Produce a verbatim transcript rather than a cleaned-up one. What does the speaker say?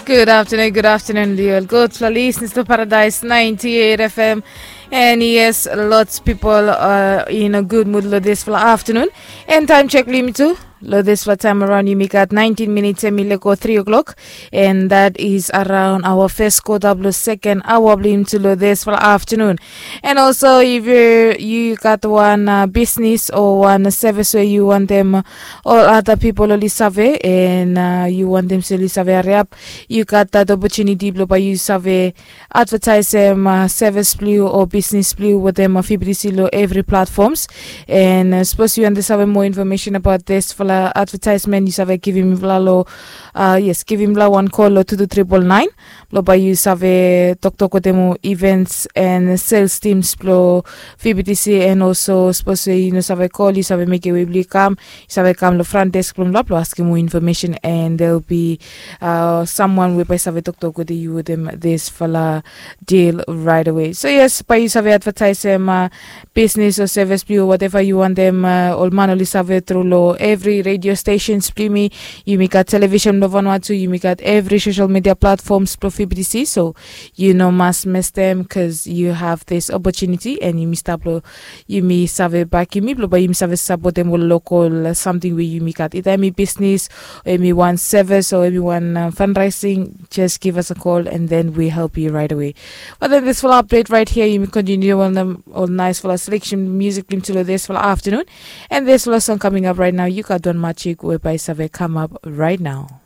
Good afternoon, good afternoon, liol. Good for listeners to Paradise ninety-eight F M. And yes, lots people are in a good mood lo this for afternoon. And time check limit too. Lo this for time around, you make at nineteen minutes and mileko three o'clock. And that is around our first quarter of the second hour blim to lo this for afternoon. And also, if you you got one uh, business or one service where you want them all other people oli save, and uh, you want them to oli save hurry up, you got that opportunity blo by you save advertise them uh, service blue or business blue with them uh, fibidisi lo every platforms. And uh, suppose you want to save more information about this for advertisement, you save give him lo uh, yes, give him lo one call lo two two triple nine. Lo by you save talk talk with them events and sales teams blo fibidisi. And also suppose you know save call, you save make a way blue come, you save come lo front desk blo blo blo asking more information, and there'll be uh, someone whereby save talk talk with you with them this fala deal right away. So yes, by you save advertise them uh, business or service blue or whatever you want them uh, ol man oli save through lo every radio stations blimi. You make a television blo Vanuatu, you make at every social media platforms blo fibidisi. So you know must miss them because you have this opportunity and you missed up lo you may save back you me blo by you save support them with local uh, something where you make at either me business or me one service or me one uh, fundraising. Just give us a call and then we help you right away. But then this full update right here, you may continue on them all nice full selection music into this full afternoon. And this full song coming up right now, you got Don Machik whereby save come up right now.